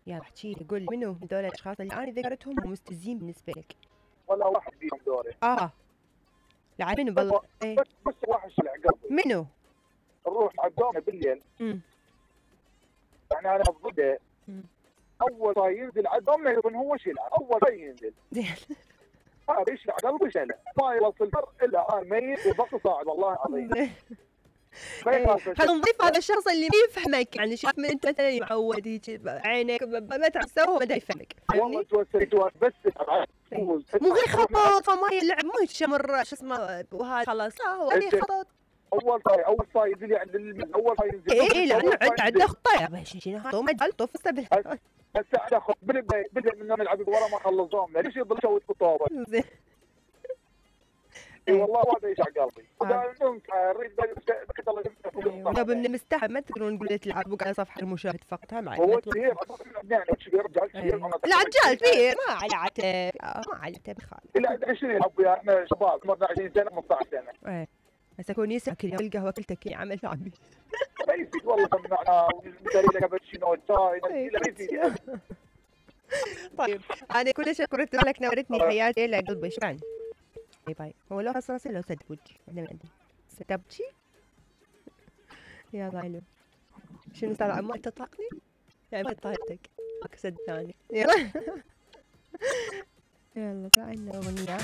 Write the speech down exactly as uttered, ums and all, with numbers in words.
يلا احكي لي، قول لي منو هذول الاشخاص اللي انا ذكرتهم ومستفزين بالنسبه لك؟ ولا واحد فيهم دوري. اه لا منو بالله؟ ايه بس بس واحد شلع قلبي. منو؟ نروح على الدوام بالليل. امم يعني انا ببدا اول ما ينزل على الدوام يظن هو شلع، اول ما ينزل هذا يشلع قلبي شلع، ما يوصل الفر الا انا ميت وبقى صاعد والله العظيم. خلينا نضيف هذا الشخص اللي ما يفهمك، يعني شاف من انت مثلا معود هيك عينك ما تعرف تسوي ما يفهمك، والله توسل توسل بس مو غير خطط فما يلعب مو شمر شو اسمه وهذا خلاص. اه هو اللي خطط اول طاي اول طاي ينزل يعني اول طاي ينزل. اي اي لانه عنده خطه يا شنو هذا هو مجال طوف السبل. هسه على خط بدا بدا من نلعب ورا ما خلصوهم، ليش يضل يسوي بالطوبه؟ زين اي والله هذا يشع قلبي. اريد بكت الله يسلمك. لو من المستحى ما تقدرون نقول تلعبوا على صفحه المشاهد فقط. هم هو كبير يعني كبير رجال كبير. لا رجال كبير ما على عتب ما على عتب خالد. لا عشرين يلعب وياه احنا شباب عمرنا عشرين سنه خمسة عشر سنه. ايه هسه كون يسمع كل يوم القهوه كلتك عمل شعبي. ما يفيد والله سمعنا ونشتري لك كابتشينو شاي لا يفيد. طيب انا كل شكرت لك نورتني حياتي الى قلبي. شكرا. باي باي. هو لو خسر لو سد وجهي انا ما عندي ستبكي. يلا حلو. شنو صار عمو انت طاقني؟ يعني طاقتك سد ثاني. يلا يلا بعدنا اغنيه.